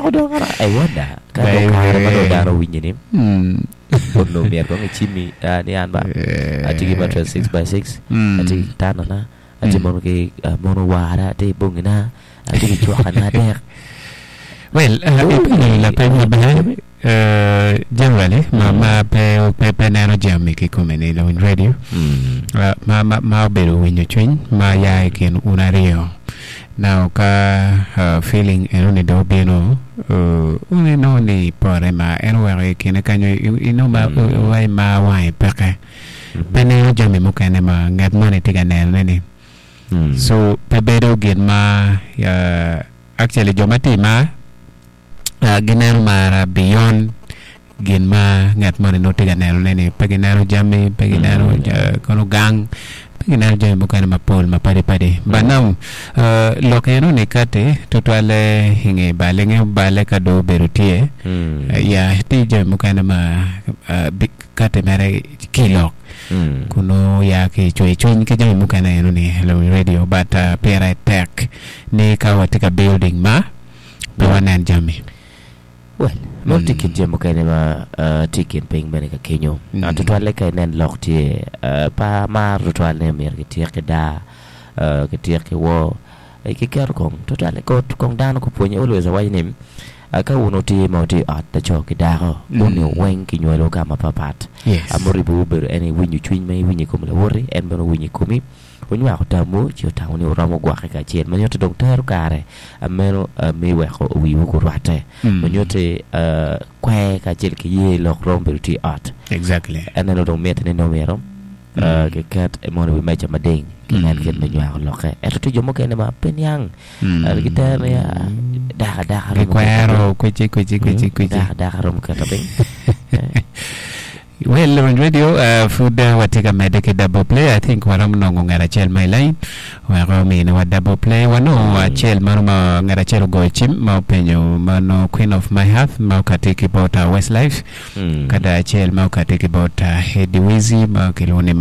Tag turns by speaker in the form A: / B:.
A: Oweko dong ara I wonder ka dong kare ma dong dano owinyo ni onongo myero kong icimmi ni an ba atye ki mattress 6x6 atye ki kitandana atye mono ki mono wara atye ki bongina atye ki cwakana adek.
B: Well, ipenyo lapeny maber. Generally ma ma pe pe pe neno jami kikome ni lawiny radio ma ma ma obedo winyo cwiny ma ya i kin un aryo now ka feeling eno ni dong obino un inongo ni pore ma en oweko i kine kenyo inongo ma wa i mar wange peke pe neno jami mukene ma ngat moni tye ka nenone ni so pe bedo gin ma actually jo ma tye i mar gineno mara beyond gin ma ngat moni nongo tye ka nenone ni pe gineno jami pe gineno kono gang pe gineno jami mukene mapol mapadi padi but now lok eno ni kati tutwalle i nge bale nge bale ka dong obedo tye ya tye jami mukene ma kati mere ki lok kun nongo ya ki cwer cwiny ki jami mukene eno ni radio but pire tek ni ka watye ka building ma pe wanen jami.
A: Well, meno tye kin jami mukene ma tye i kin piny bene ka kenyo. Tutwalle ka inen lok tye pe amaro tutwal ni myero kityek ki daa, kityek ki woo, kiketo kong tutwalle kong dano gupwonye always awaco ni ka wun wutye ma wutye i ot laco ki dako wun weng kinywalowu ka mapapat. Muribowu obedo en aye winyo cwiny ma iwinyo i kom lawoti en bene owinyo i komi. Wunywako tamwu ci wutamo ni wuromo gwokke kacel ma nyutti dong tero kare meno me weko wiwu gurwatte. Ma nyutti kwer kacel ki ye lok romo bedo tye i ot.
B: Exactly.
A: Eneno dong mitte ni nongo myero kiket mono i wi meja mading kinen kit me nywako lokke. Ento tye jo mukene ma pe niang gitero ni dako adaka romo keto
B: Gikwero kwici kwici kwici kwici.
A: Dako adaka romo keto piny.
B: Well, Lawiny Radio, uh, pud uh, watye ka medde ki double play. I think waromo nongo ngat acel ma i line wek ominiwa double play. Wanongo acel mano ma ngat acel ogoyo cim ma openyo mano Queen of My Heart ma okati ki bot uh, Westlife, kada acel ma okati ki bot uh, Eddie Wizzy ma kilwongo ni.